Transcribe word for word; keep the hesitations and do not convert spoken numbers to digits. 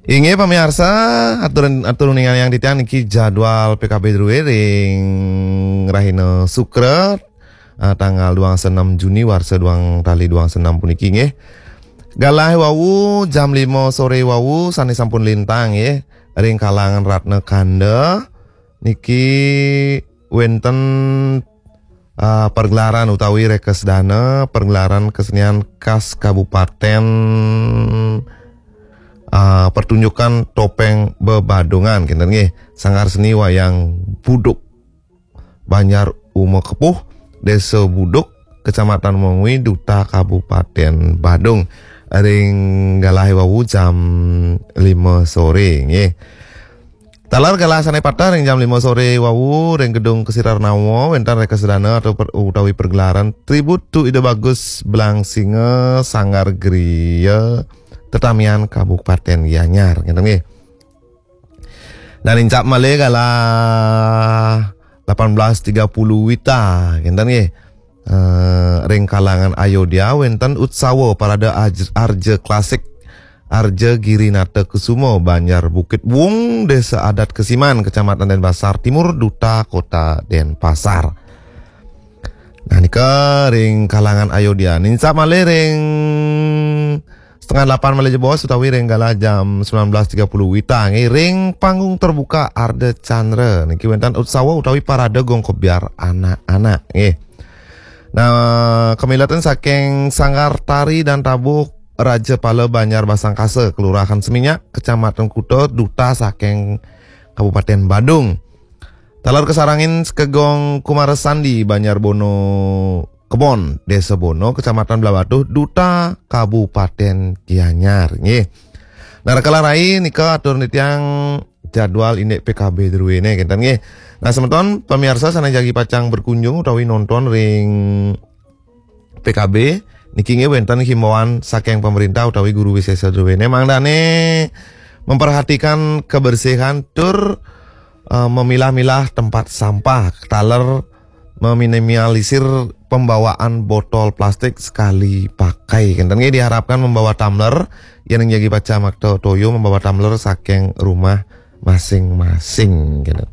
Inggih pamiarsa, atur atur uningan yang titiang niki jadwal P K B drué ring rahina Sukra, eh, tanggal dua puluh enam Juni warsa dua tali dua puluh enam puniki nggih. Galah wau jam lima sore wau sané sampun lintang nggih ring kalangan Ratna Kanda niki wénten, eh, pergelaran utawi rekesdana pergelaran kesenian khas Kabupaten, eh, pertunjukan topeng bebadungan kinten nggih. Sanggar Seni Wayang Buduk Banjar Uma Kepuh, Desa Buduk, Kecamatan Mengwi, Duta Kabupaten Badung. Ring galah wau jam lima sore nggih. Taler galah sané pateh ring jam lima sore wau ring Gedung Kesirarnawa wénten rekesdana atau per, utawi pergelaran Tribute to Ida Bagus Belang Singa Sanggar Griya Tetamian Kabupaten Gianyar. Ngéten nggih. Dan nincap malih galah delapan belas tiga puluh wita, ngénten nggih. Eh, ring kalangan Ayodhya wénten utsawa parade Aj- Arja Klasik Arja Girinata Kusuma, Banjar Bukit Wung, Desa Adat Kesiman, Kecamatan Denpasar Timur, Duta Kota Denpasar. Nah, nika ring kalangan Ayodhya. Nincap malih ring setengah delapan malih jebos utawi ring galah jam sembilan belas tiga puluh wita nggih ring panggung terbuka Ardha Candra. Niki wénten utsawa utawi parade gong kebyar anak-anak nggih. Nah, kamiletan saking Sanggar Tari dan Tabuh Raja Pala Banjar Basangkasa, Kelurahan Seminyak, Kecamatan Kuta, Duta saking Kabupaten Badung. Taler kasarengin Sekegong Kumara Sandi, Banjar Bono Kebon, Desa Bono, Kecamatan Blahbatuh, Duta Kabupaten Gianyar. Nggih. Nah, rikala rai nika atur titiang jadwal indik P K B druéné, kinten nggih. Nah, semeton pamiarsa sané jagi pacang berkunjung utawi nonton ring P K B, niki nggih wénten himbauan saking pemerintah utawi guru wisésa druéné mangdané memperhatikan kebersihan tur, eh, memilah-milah tempat sampah, taler meminimalisir pembawaan botol plastik sekali pakai. Kinten nggih diharapkan membawa tumbler, yén jagi pacang makta toya membawa tumbler saking rumah masing-masing, kinten.